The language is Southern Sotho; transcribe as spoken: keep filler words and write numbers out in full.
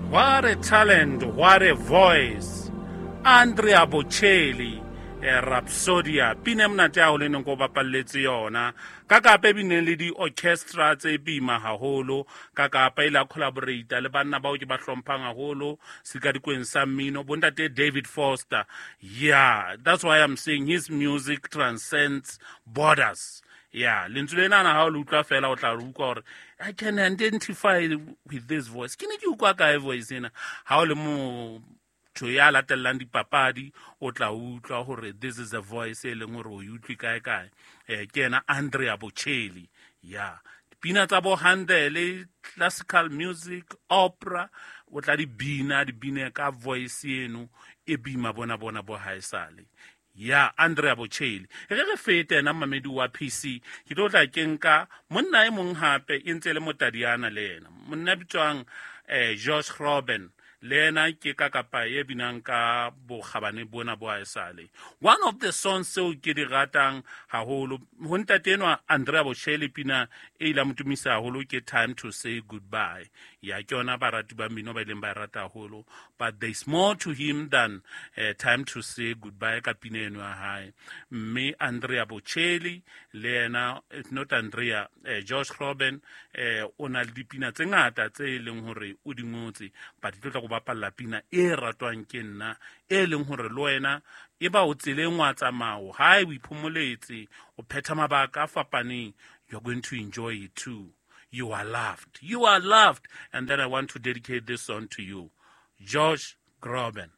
What a talent, what a voice. Andrea Bocelli, eh, Rhapsodia, pina e monate haholo e neng ko bapalletse yona. Ka kapa e bineng le di-orchestra tse boima haholo, ka kapa e la collaborate le banna bao ke ba hlomphang haholo sekadikweng sa mmino, bontate David Foster. Yeah, that's why I'm saying his music transcends borders. Yeah, lentswe lena ha o le utlwa fela o tla re utlwa hore I can identify with this voice. Ke ne ke utlwa kae voice ena? Ha o le motho ya latellang dipapadi o tla utlwa hore this is a voice e leng hore o e utlwe kae kae. Eh, ke yena Andrea Bocelli. Yeah, dipina tsa bo Handel, classical music, opera, o tla di bina, di bine ka voice eno e bima bona bona bo haesale. Ya Andrea Bocelli. Re re fete ena mamedi wa P C, ke tlo tla ke nka monna e mong hape e ntse le motadiana le yena. Monna bitswang, eh, Josh Groban, le yena ke ka kapa e binang ka bokgabane bona bo haesale. One of the songs tseo ke di ratang haholo ho ntate enwa Andrea Bocelli, pina e ile ya mo tumisa haholo ke Time to Say Goodbye. Ya ke yona barati ba mmino ba ileng ba e rata haholo, but there's more to him than, eh, Time to Say Goodbye ka pina eno ya hae. Mme Andrea Bocelli le yena, it's not Andrea, eh, Josh Groban, eh, o na le dipina tse ngata tse e leng hore o di ngotse, but ke tlo tla go bapalla pina e ratwang ke nna, e leng hore le wena e ba o tseleng wa tsamao, hae o iphomoletse, o phetha mabaka a fapaneng, you're going to enjoy it too. You are loved. You are loved. And then I want to dedicate this song to you, Josh Groban.